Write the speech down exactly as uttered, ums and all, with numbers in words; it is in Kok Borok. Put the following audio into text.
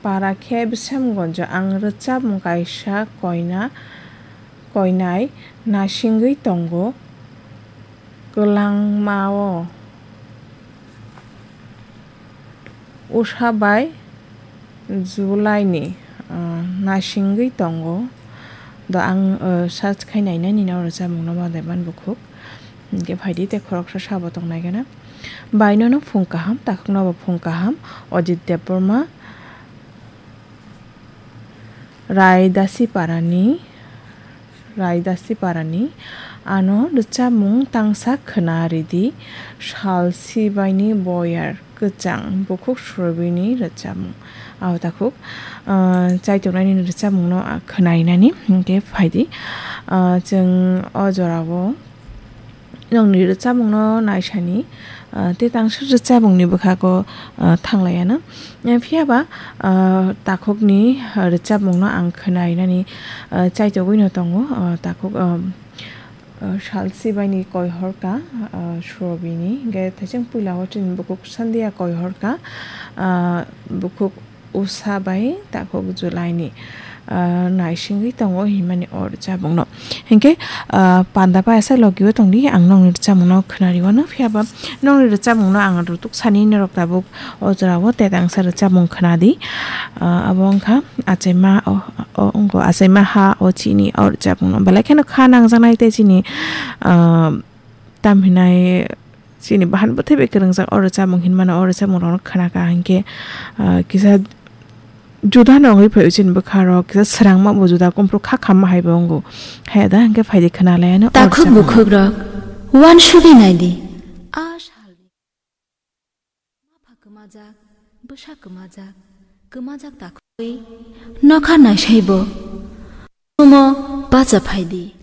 Para khe Bisamgonjo ang rwchapmung kaisa koina, koinai nasingwi tongo kwlangmao. Usa bai July ni, ah, nasingwi tongo. Do ang, ah, search khai nainani no rwchapmung no ma daiman bukhuk. Hinkhe phaidi tei khoroksa sabo tong nai gana. Baino no phung kaham, takhuk no bo phung kaham. Ajit Debbarma, Raidasi Parani, Raidasi Parani, ano rwchapmung tangsa khwna ridi, sal sibaini boyar kwchang bukhuk Surabini rwchapmung. Abo takhuk, ah, chaitongnani rwchapmungno, ah, khwnainani, hinkhe phaidi, ah, chwng o jorao nongni rwchapmungno naisani, ah, tei tangsa rwchapmungni bwkhago, ah, thanglaiano. Eh, phiyaba, ah, takhukni, ah, rwchapmungno ang khwnainani, ah, chaitogwino tongo, ah, takhuk, ah, ah, sal sibaini koihorka, ah, Surabini, hinkhe thaising puila o chini bukhuk Sandia koihorka, ah, bukhuk Usa bai takhuk July ni, ah, naisingwi tongo hinmani o rwchapmungno. Hinkhe, ah, panda bai asa logi o tongdi, ang nongni rwchapmungno khwnari wano, phiyaba nongni rwchapmungno ang rutuk sani norok tabuk o jorao tei tangsa rwchapmung khwnadi. Ah, abo wngkha achaima o, o wngkha achaima ha o chini o rwchapmungno. Belai kheno kha nangjaknai tei chini, ah, tamhinai chini bahan bwthai bai kwrwngjak o rwchapmung hinmano, o rwchapmung rokno khwnaka hinkhe, ah, kisa juda no wngwi phaio chini bwkha rok, kisa swrangma bo juda, kumpru kha khamma hai bo wngo. Haya da hinkhe phaidi khwnalaiano o Takhuk rwchapmung. Bukhuk rok, uansugwi naidi. A salni. Mapha kwmajak, bwsa kwmajak, kwmajak takhuk. Nokha naisaibo. Sumo bacha phaidi.